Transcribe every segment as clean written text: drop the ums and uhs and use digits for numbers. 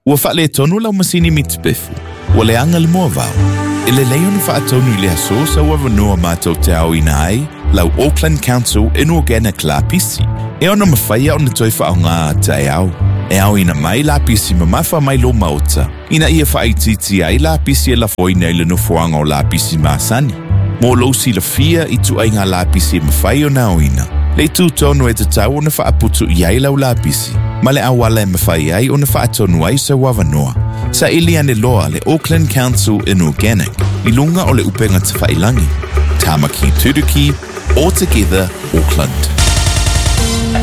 Ua faaletonu lau masini mitipefu. Ua leaga le moavao. E lelei ona faatonu i le aso sau avanoa matou te aoina ai lau Auckland Council Inorganic lapisi e ono mafai ona toe faaaoga a taeao. E aoina mai lapisi mamafa mai lou maota ina ia faaitiitia ai lapisi e lafoina i le nofoaga o lapisi masani. Mo lou silafia i ituaiga lapisi e mafai ona aoina, le itu tonu e tatau ona faaputu i ai lau lapisi, ma le auala e mafai ai ona faatonu ai sau avanoa. Saili ane loa le Auckland Council Inorganic i luga o le upega tafailagi. Tāmaki Turuki, All Together Auckland.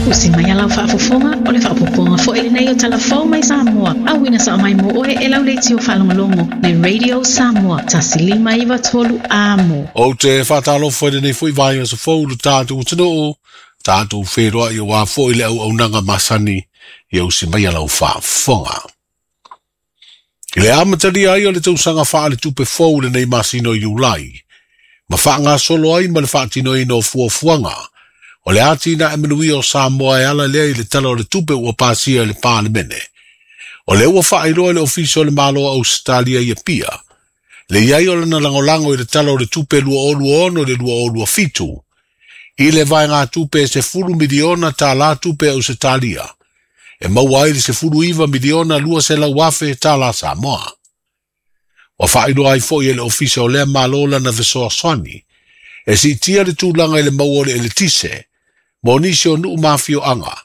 Usi mai a lau faafofoga, o le faaopoopoga foi lenei o Tala Fou mai Samoa, auina sao mai mo oe e lau leitio faalogologo le Radio Samoa 1593 Amo. Ou te faatalofa i lenei foi vaiaso fou i lo tatou atunuu, tatou feiloai aua foi le auaunaga masani ia usi mai a lau faafofoga. I le amatalia ai o le tausaga faaletupe fou i lenei masina o Iulai, ma faagasolo ai ma le faatinoina o fuafuaga o le atinae manuia o Samoa e ala lea i le Tala o le Tupe ua pasia e le Palemene, o lea ua faailoa e le Ofisa o le Malo o Ausetalia i Apia le i ai o lana lagolago i le Tala o le Tupe 2026 i le 2027 i le vaegatupe e $10 miliona tala tupe Ausetalia e maua ai le $19,200,000 tala Samoa. Ua faailoa ai foi e le Ofisa o lea Malo lana fesoasoani e siitia le tulaga i le maua o le eletise mo nisi o nuu ma afioaga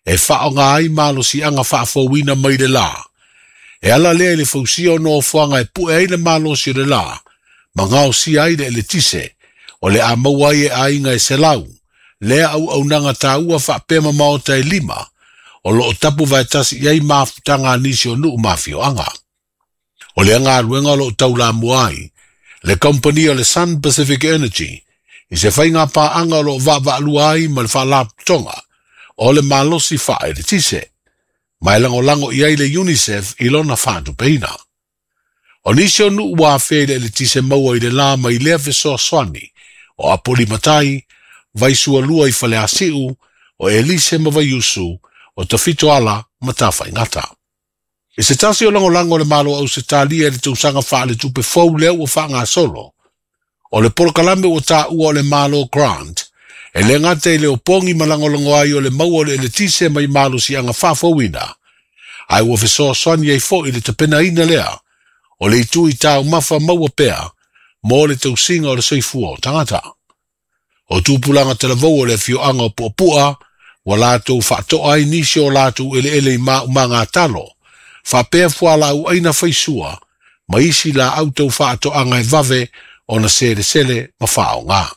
e faaaoga ai malosiaga faafouina mai le la, e ala lea i le fausia o nofoaga e pue ai le malosi o le la ma gaosia ai le eletise o le a maua ai e aiga e 100 lea auaunaga taua faapea ma maota e lima o loo tapu vaetasi i ai mafutaga a nisi o nuu ma afioaga. O lea galuega o loo taulamua ai le kamupani o le Sun Pacific Energy i se faiga paaga o loo vaavaalua ai ma le Faalapotopotoga o le Malosi Faaeletise, ma e lagolago i ai le UNICEF i lona faatupeina. O nisi o nuu ua afea i le eletise maua i le la mai lea fesoasoani o Apolimatai, Vaisualua i Faleasiu, o Elise ma Vaiusu, o Tafitoala ma Tafaigata. I se tasi o lagolago o le Malo o Ausetalia i le tausaga faaletupe fou lea ua faagasolo, o le polokalame ua taua o le Malo Grant, e le gata i le opogi ma lagolago ai o le maua o le eletise mai malosiaga faafouina, ae ua fesoasoani ai foi i le tapenaina lea o le itu i taumafa maua pea mo le tausiga o le soifua o tagata. O tupulaga talavou o le afioaga o Puapua ua latou faatoa ai nisi o latou eleele i maumaga talo, faapea fualaau aina faisua ma isi laau tau faatoaga e vave ona selesele ma faaaoga.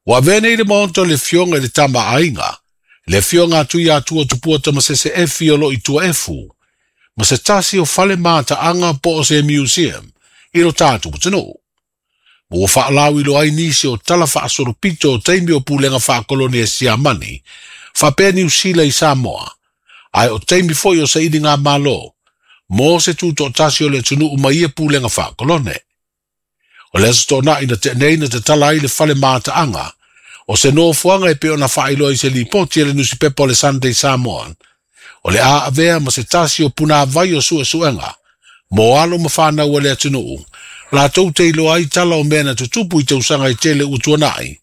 Ua avea nei le maota o le Afioga i le Tama a Aiga, le Afioga a Tuiatua Tupua Tamasese Efi o loo i Tuaefu, ma se tasi o fale mataaga po o se museum i lo tatou atunuu. Ma ua faalauiloa ai nisi o tala faasolopito o taimi o pulega faakolone a Siamani, faapea Niu Sila i Samoa, ae o taimi foi o sailiga malo mo se tutoatasi o le atunuu ma ia pulega faakolone. O le Aso Toonai na tea nei na tatala ai le fale mataaga o se nofoaga e pei ona faailoa i se lipoti a le nusipepa o le Sunday Samoan, o le a avea ma se tasi o punavai o suesuega mo alo ma fanau a le atunuu latou te iloa ai tala o mea na tutupu i tausaga e tele ua tuanai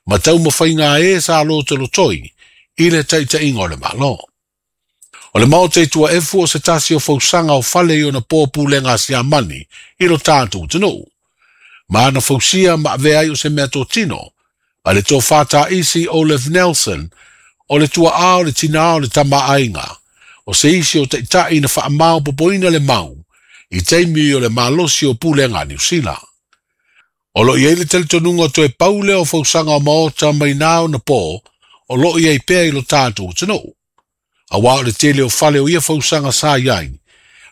ma taumafaiga a e sa lotolotoi i le taitaiga o le Malo. O le maota i Tuaefu o se tasi o fausaga o fale i ona po pulega a Siamani i lo tatou atunuu, ma na fausia ma avea ai o se mea totino a le tofa taisi Olaf Nelson o le tuaa o le tinā o le tama aiga, o se isi o taitai na faamaopopoina le mau i taimi o le malosi o pulega a Niu Sila. O loo i ai le talitonuga toe pau lea o fausaga o maota mai na ona po o loo i ai pea i lo tatou atunuu, auā o le tele o fale o ia fausaga sa i ai,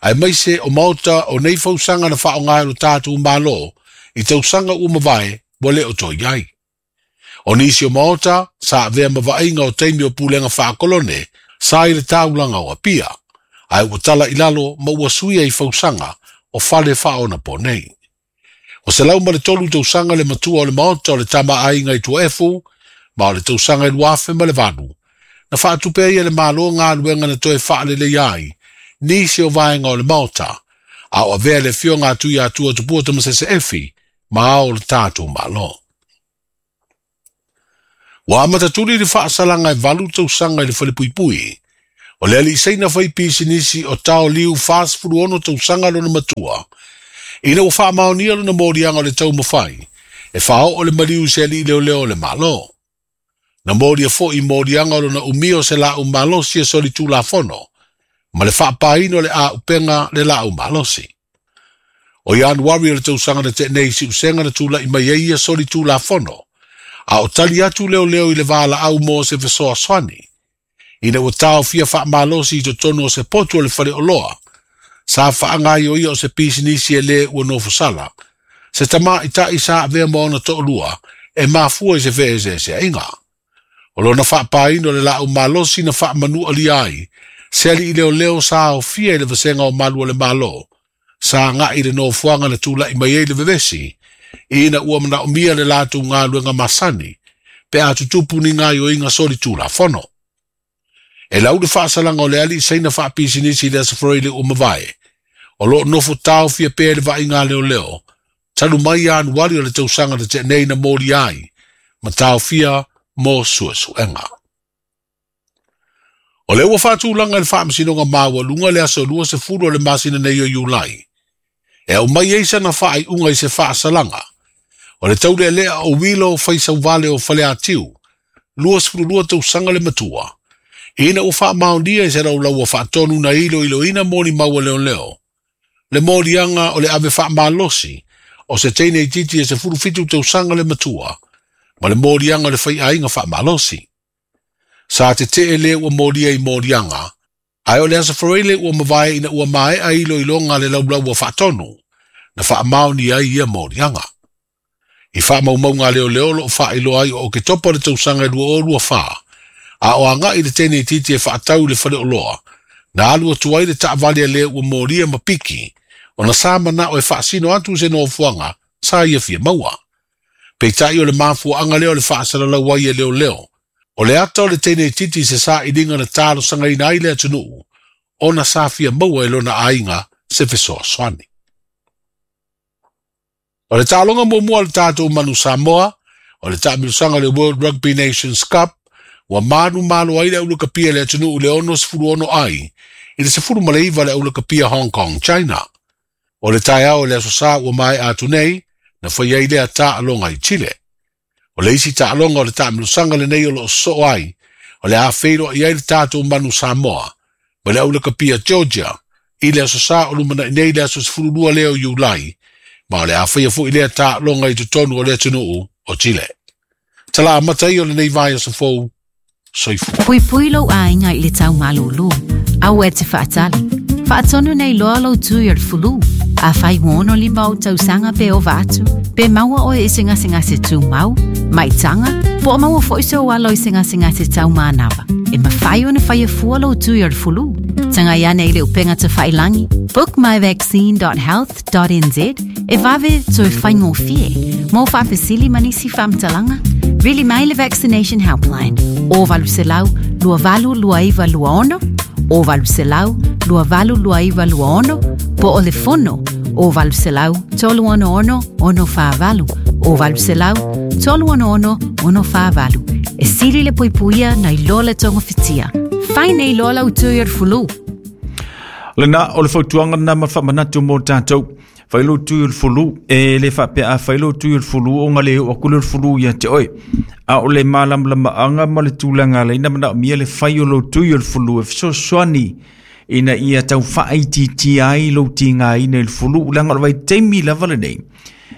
aemaise o maota o nei fausaga na faaaoga e lo tatou Malo i tausaga ua mavae ua le o toe i ai. O nisi o maota sa avea ma vaaiga o taimi o pulega faakolone sa i le taulaga o Apia, ae ua tala i lalo ma ua suia i fausaga o fale faaonapo nei. O 103 tausaga le matua o le maota o le Tama a Aiga i Tuaefu, ma o le tausaga e 2008, na faatupe ai e le Malo galuega na toe faaleleia ai nisi o vaega o le Maota, a o avea le afioga a Tuiatua Tupua Tamasese Efi ma ao o le tatou Malo. Ua amatatuli le faasalaga e 8 tausaga i le falepuipui, o le alii saina fai pisinisi o Tao Liu 46 tausaga lona matua, ina ua faamaonia lona moliaga o le taumafai, e faaoo le maliu i se alii leoleo o le Malo. Na molia foi moliaga o lona umia o se laau malosi e solitulafono, ma le faapaina o le auupega le laau malosi. O Ianuari o le tausaga na tea nei i siusega na tula'i mai ai ia solitulafono, a o tali atu leoleo i le valaau mo se fesoasoani, ina ua taofia faamalosi i totonu o se potu o le faleoloa, sa faagaioia o se pisinisi e lē ua nofosala, se tamaʻitaʻi sa avea ma ona toʻalua e mafua i se feeseeseaʻiga. O lona faapaina o le laau malosi na faamanualia ai, se alii leoleo sa aofia i le vasega o malu o le Malo, sa agaʻi i le nofoaga na tulaʻi mai ai le vevesi, ina ua manaomia le latou galuega masani, pe a tutupu ni gaoioiga solitulafono. E lau le faasalaga o le alii saina faapisinisi i le Aso Faraile ua mavae, o loo nofo taofia pea i le vaaiga leoleo, talu mai Ianuari o le tausaga na tea nei na molia ai, ma taofia mo suesuega. O le ua faatulaga i le faamasinoga maualuga le aso 20 o le masina nei o Iulai, e aumai ai sana faaiuga i se faasalaga, o le taulealea o Wilo Faisauvale o Faleatiu, 22 tausaga le matua, ina ua faamaonia i se laulaua faatonu na iloiloina molimau a leoleo, le moliaga o le ave faamalosi o se teine itiiti e 17 tausaga le matua, ma le moliaga o le faiaiga faamalosi. Sa tetee le ua molia i moliaga, ae o le Aso Faraile ua mavae ina ua maea iloiloga le laulaua faatonu, na faamaonia ai ia moliaga. I faamaumauga a leoleo loo faailoa ai o Oketopa le tausaga e 2024, a o agaʻi le teine itiiti e faatau i le faleoloa, na alu atu ai le taavale a le ua molia ma piki, ona sa manao e faasino atu se nofoaga sa ia fia maua. Peitai o le mafuaaga lea o le faasalalau ai e leoleo, o le ata o le teine itiiti i se sailiga na talosagaina ai le atunuu, ona sa fia maua e lona aiga se fesoasoani. O le taaloga muamua o le tatou Manu Samoa, o le taamilosaga o le World Rugby Nations Cup, ua manumalo ai le aulakapia le atunuu i le 66 ai, i le 19 le aulakapia Hong Kong, China. O le taeao o le aso Sā ua maea atu nei, na fai ai lea taaloga i Chile. O le isi taaloga o le taamilosaga lenei o loo sosoo ai, o le a feiloai ai le tatou Manu Samoa, ma le aulakapia Georgia, i le aso Sā o lumanai nei le aso 12 lea o Iulai, ma o le a faia foi lea taaloga i totonu o le atunuu o Chile. Tala amata ia o lenei vaiaso fou, soifua. Puipui lou aiga i le tau malūlū. Aua e te faatali. Faatonu nei loa lou tui o le fulu. Afai ua 65 ou tausaga pe ova atu, pe maua oe i se gasegase tumau, maitaga, po o maua foi sou alo i se gasegase taumanava, e mafai ona faia fua lou tui o le fulu. Tagai ane i le upega tafailangi bookmyvaccine.health.nz e vave toe faigofie. Mo faafesili ma nisi faamatalaga, vili mai le Vaccination Helpline o 800 2829 26 o 800 2829 26 po o le fono o 800 366 648 o 800 366 648. E sili le puipuia nai lo le togofitia. Fai nei loa lau tui o le fulu. Lena o le fautuaga lena ma le faamanatu mo tatou. Fai lou tui o le fulu, e le faapea a fai lou tui o le fulu ona le oo atu lea o le fulu ia te oe. A o le malamalamaaga ma le tulaga alai na manaomia le fai o lou tui o le fulu e fesoasoani ina ia tau faaitiitia ai lou tigaina i le fulu, leaga o le vaitaimi lava lenei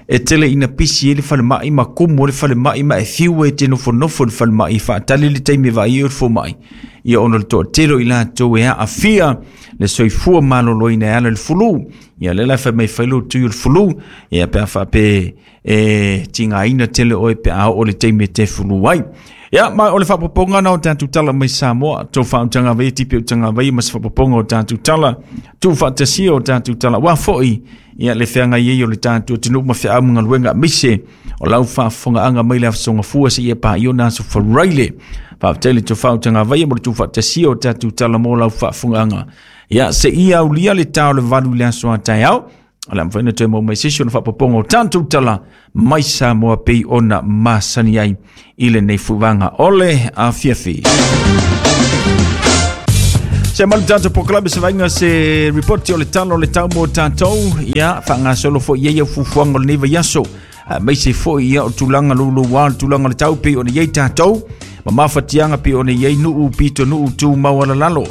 e tele ina pisi ai le falemai ma kumu ai le falemai ma e fiu e te nofonofo i le falemai e faatali le taimi e vaai ai o le fomai ia ona o le toatele o i latou e aafia le soifua maloloina e ala i le fulu. Ia lea la e fai mai fai lou tui o le fulu ia pe a faape e tigaina tele oe pe a oo le taimi e te fulu ai. Ia, ma o le faapopoga na o tatou tala mai Samoa, tou faautaga vaia tipi utaga vaia ma se faapopoga o tatou tala, tuu faatasia o tatou tala, aua foi ia le feagai ai o le tatou atunuu ma feau ma galuega aemaise o lau faafofogaaga mai le Asoga Fua seia paia ona aso faraile. Faafetai le tofau tagavaia mo le tuufaatasia o tatou tala mo lau faafofogaaga. Ia seia aulia le ta o le 8 i le aso a taeao, o le a mafai ona toe maua mai se isi ona faapopoga o tatou tala mai Samoa pei ona masani ai i lenei fuvaga o le afiafi. Se malu tatou polokalame se vaaiga se ripoti o le tala o le tau mo tatou, ia faagasolo foi i ai au fuafuaga o lenei vaiaso, aemaise foi ia o tulaga louloua o le tulaga o le tau pei ona i ai tatou, ma mafatiaga pei ona i ai nuu pitonuu tumau alalalo.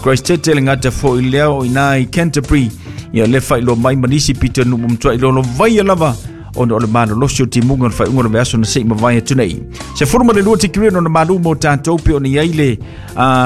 Christchurch le gata foi lea o ina i Canterbury, ia le faailoa mai ma nisi pitonuu ma matuai lolovaia lava ona o le malolosi o timuga o le faaiuga o le vaiaso na se i mavae atu nei. 12 tikeri ona malu mo tatou pei ona i ai le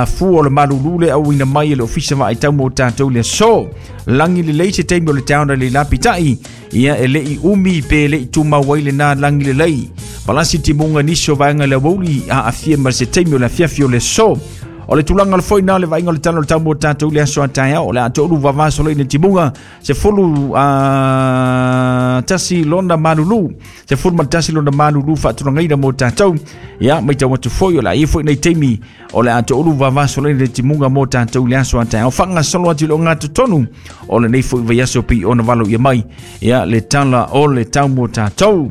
fua o le malulu le auina mai e le ofisa vaai tau mo tatou le aso. Lagi lelei se taimi o le taona le lapitai, ia e lei umi pe lei tumau ai lena lagi lelei. Palasi timuga nisi o vaega le aoauli a afia ma se taimi o le afiafi o le aso. O le tulaga o le foi na le vaaiga o le tala o le tau mo tatou le aso a taeao, o le a toulu vavaso le timuga 11 lona malulu, 11 lona malulu faatulagaina mo tatou. Ia maitau atu foi o le a i foi nei taimi o le a toulu vavaso le timuga mo tatou le aso a taeao. Faagasolo atu i le ogatotonu o lenei foi vaiaso pei ona valo ia mai ia le tala o le tau mo tatou.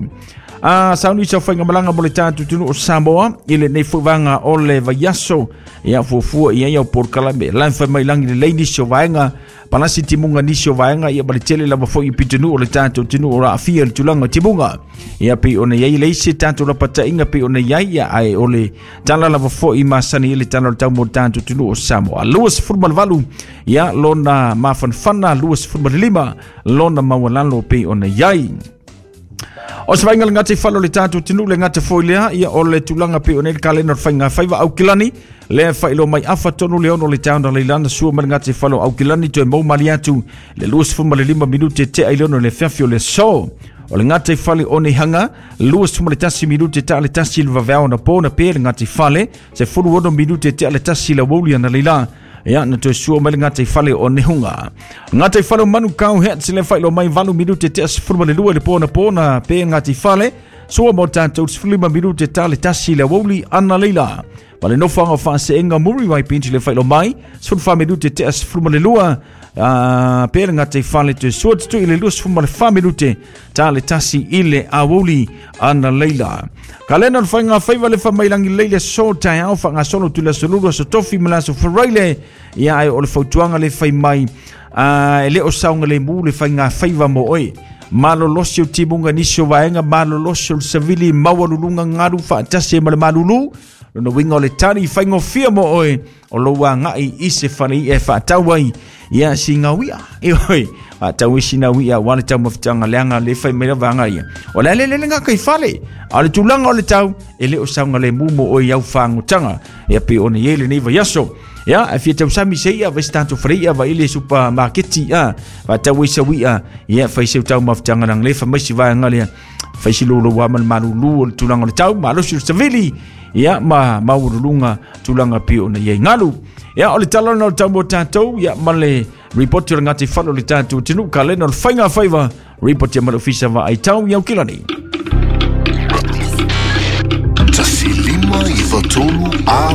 Sauni sa faigamalaga mo le tatou atunuu o Samoa i lenei foi vaega o le vaiaso, ia fuafua i ai au polokalame la e fai mai lagi lelei nisi o vaega, palasi timuga nisi o vaega, ia ma le tele lava foi i pitonuu o le tatou atunuu o aafia i le tulaga o timuga. Ia pei ona i ai le isi tatou lapataiga pei ona i ai, ia ae o le tala lava foi masani i le tala o le tau mo le tatou atunuu o Samoa. 28 ia lona mafanafana, 25 lona maualalo pei ona i ai. O se vaaiga le gata i fale o le tatou atunuu le gata foi lea, ia o le tulaga pei ona i le kalena o le faiga faiva Aukilani, lea faailoa mai afa tonu le 6 le taona leilana sua mai le gata i fale o Aukilani toe mau mali atu le 25 minute tea i le 6 le afiafi o le aso. O le gata i fale o Neihanga, 21 minute tea le 1 le vaveao na po na pe le gata i fale, 16 minute tea le 1 le aoauli ana leila. Ia, na toe sua mai le gata i fale o Nehunga. Gata i fale o Manukau Hats le faailoa mai 8 minute tea 12 le po na po na pe gata i fale, sua mo tatou 15 minute tea le 1 le aoauli ana leila. Ma le nofoaga o faaseenga Muri Waipinti le faailoa mai 14 minute tea 12 pe le gata i fale toe sua tutui i le 24 minute tea le 1 i le aoauli ana leila. Kalena o le faiga faiva le faamailangi lelei le aso taeao faagasolo atu le aso Lulu, aso Tofi ma le aso Faraile. Ia ae o le fautuaga le fai mai, e le o saogalemu le faiga faiva mo oe. Malolosi o timuga nisi o vaega, malolosi o le savili maualuluga galu faatasi ma le malulu. Lona uiga o le tali faigofia mo oe o lou agai i se fale i'a e faatau ai ia sina uia. E oi, faatau ai sina uia aua le taumafataga leaga le fai mai lava aga ia. O le a lele le gaka i fale, a o le tulaga o le tau e le o saogalemu mo oe i au fagutaga. Ia pei ona i ai lenei vaiaso. Ia, e fia tausami se ia, vai se tatou fale i'a, vai le supamaketi, faatau ai sau i'a, ia fai seu taumafataga leaga le fai mai si vaega lea. Fai si louloua ma le malulu o le tulaga o le tau, malosi o le savili, ia ma maualuluga tulaga pei ona i ai galu. Ia o le tala lena o le tau mo tatou, ia ma le ripoti o le gata i fale o le tatou atunuu, kalena o le faiga faiva, ripoti a ma le ofisa vaai tau i Aukilani. 1 5 9 3 a.